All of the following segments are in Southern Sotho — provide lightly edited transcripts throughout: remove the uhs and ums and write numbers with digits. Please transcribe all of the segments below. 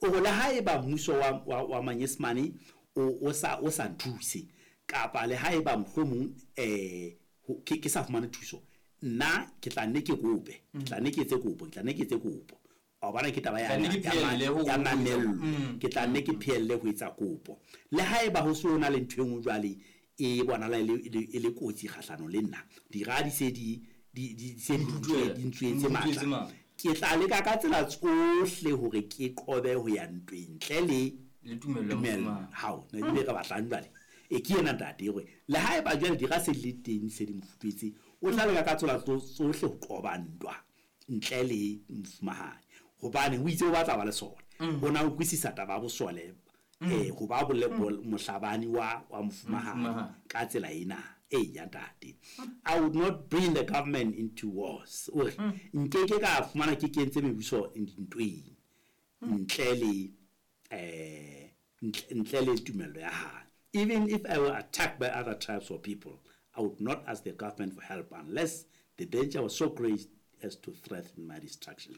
O re le haeba mmuso wa Manyesemane o sa nthuse, kapa le haeba mohlomong ke sa fumane thuso, nna ke tla nne ke kope, ke tla nne ke etse kopo, ke tla nne ke etse kopo. Wa bona, ke taba ya Tla nne ke phehelle ya mamello. Ke tla nne ke phehelle ho etsa kopo le haeba ho se ho na le ntho e nngwe jwale e bonahala e le kotsi kgahlanong le nna, dira di se di se di Ntutuela. di ntswetse Ntswetse matla, matla. Ke tla leka ka tsela tsohle hore ke qobe ho ya ntweng ntle le Le tumello ya tumello. mofumahadi. Hao ne ebile re batlang jwale e ke ena, ntate, hore le haeba jwale dira se di le teng, se di mo futuetse, o tla leka ka tsela tsohle ho qoba ntwa ntle le mofumahadi, hobane o itse o batla ba le sole. O na utlwisisa taba ya bosole, ho ba mohlabani wa mofumahadi Mofumahadi. ka tsela ena e ya, ntate. I would not bring the government into wars. O re nkeke ka fumana ke kentse mebuso dintweng ntle le tumello ya hae. Even if I were attacked by other tribes or people, I would not ask the government for help unless the danger was so great as to threaten my destruction.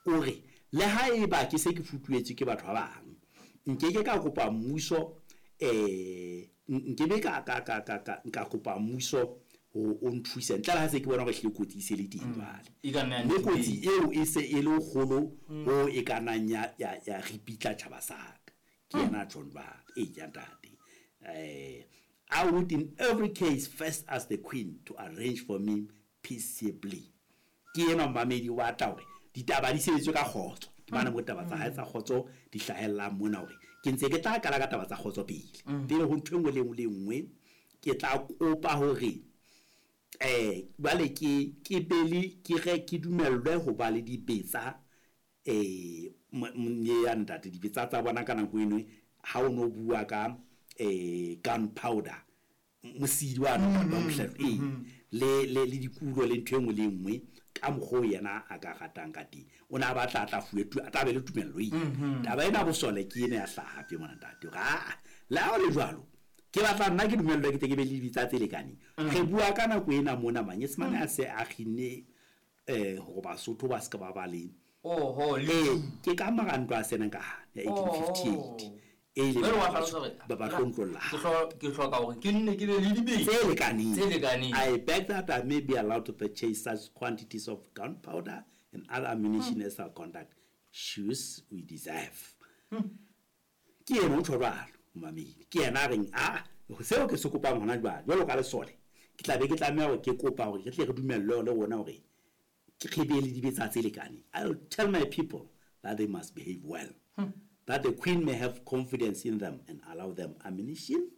O re le haeba ke se ke futuetswe ke batho ba bang, nkeke ka kopa mmuso, nkebe ka nka kopa mmuso ho o nthuse ntle le ha se ke bona hore ehlile kotsi e se le teng jwale. E ka nna ya Mme ntho kotsi teng. Eo e se e le kgolo ho e ka nnang ya ripitla tjhaba sa ka. Ke yena John jwale e ya, ntate. I would in every case first ask the Queen to arrange for me peaceably. Ke enwa momamedi, o batla hore ditaba di sebetswe ka kgotso. Ke bana mo taba tsa hae tsa kgotso di hlahellang mona, hore ke ntse ke tla qala ka taba tsa kgotso pele, pele ho ntho e nngwe le nngwe le nngwe. Ke tla kopa hore jwale ke be le ke re ke dumellwe ho ba le dibetsa, ya ntate, dibetsa tsa bona ka nako eno ha o no bua ka gun powder, mosidi wa wa mohlahlo, ee, le dikulo le ntho e nngwe le e nngwe ka mokgwa o yena a ka ratang ka teng. O ne a batla a tla fuwe a tla be le tumello eo. Taba ena bosole ke ena ya hlaha hape mona, ntate, hore aa, le ha o le jwalo, ke batla nna ke dumellwe ke tle ke be le dibetsa tse lekaneng. Re bua ka nako ena mona Manyesemane a se a kginne hore Basotho ba se ka ba ba le Oho, le Ke ka mora ntwa ya Senekal ya 1858 e ileng Jwale wa hlalosa hore ba tlontlolla. Ke hloka hore ke nne ke be le dibetsa tse lekaneng. Tse lekaneng. I beg that I may be allowed to purchase such quantities of gunpowder and other ammunition as our conduct shews we deserve. Ke ena o tjho jwalo, momamedi. Ke yena a reng a seo ke se kopang hona jwale jwalo ka lesole, ke tla be ke tlameha hore ke kopa hore re tle re dumellwe le rona hore ke re be le dibetsa tse lekaneng. I'll tell my people that they must behave well, that the Queen may have confidence in them and allow them ammunition.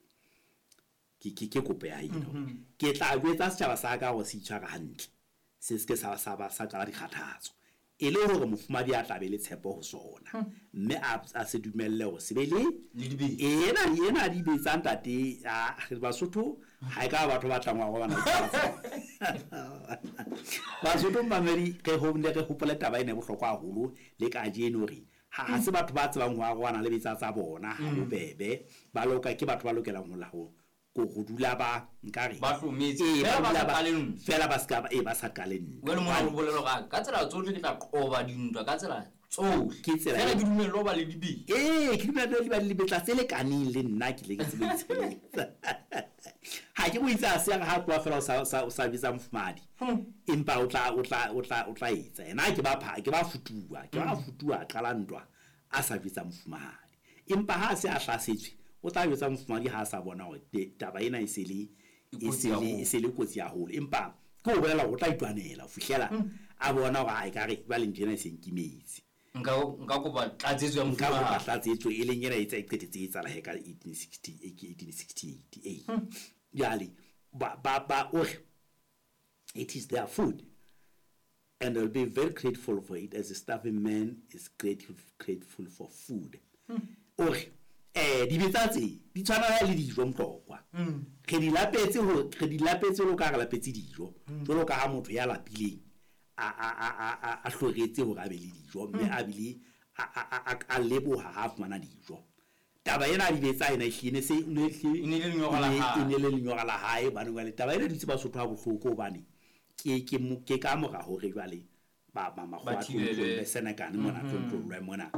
Ke kopo ya hae ena hore ke tla jwetsa setjhaba sa ka hore se itshware hantle, se se ke sa ba sa qala dikgathatso, e le hore mofumahadi a tla be le tshepo ho sona, mme a se dumelle hore se be le Le dibetsa. Ena dibetsa, ntate. A Basotho ha e ka ba batho ba tlang wa robana. Basotho, mamedi, re ho ne re hopole taba ena e bohlokwa haholo le kajeno, hore ha se batho ba tsebang ho arohana le betsa tsa bona ha bobebe. Ba loka ke batho ba lokelang ho la ho ko go dula ba nkare Ba hlometse. Ee, Fela ba ba dula sa qale ntwa. Fela ba ska ba sa qale ntwa. Jwale mona o bolela hore ka tsela tsohle ke tla qoba dintwa ka tsela tsohle. Ke tsela Fela ke dumellwe ho ba le dibetsa. Ee, ke dumela le ba le dibetsa tse lekaneng, le nna ke tle ke tsebe ho itshireletsa. Ha ke mo itse a se re ha tloha fela o sa bitsa mofumahadi, empa o tla etsa yena ke ba futuwa a qala ntwa a sa jwetsa mofumahadi, empa ha a se a hlasetswe, o tla jwetsa mofumahadi ha a sa bona hore taba ena e se le E e kotsi se le haholo. e se le kotsi haholo. Empa ke ho bolela hore o tla itwanela ho fihlela a bona hore a ekare jwale ntho ena e se nkimetse. Nka kopa tlatsetso ya Nka kopa mofumahadi. tlatsetso, e leng ena e tsa e qetetse e etsahala he ka 1860, 1868. Ee, jwale ba o re it is their food and they'll be very grateful for it, as a starving man is grateful for food. O re dibetsa tse di tshwana le dijo, motlokwa. Re di lapetse lo ka re lapetse dijo, jwalo ka ha motho ya lapileng a hloretse hore a be le dijo, mme a bile a leboha ha a fumana dijo. Taba ena ya dibetsa ena ehlile ne se ne E ne le lenyora la hae. E ne le lenyora la hae, hobane jwale taba ena e dutse Basotho ha bohloko, hobane ke ka mora hore jwale ba makgowa Ba a thibele. tlontlollwe Senekane mona, tlontlollwe mona.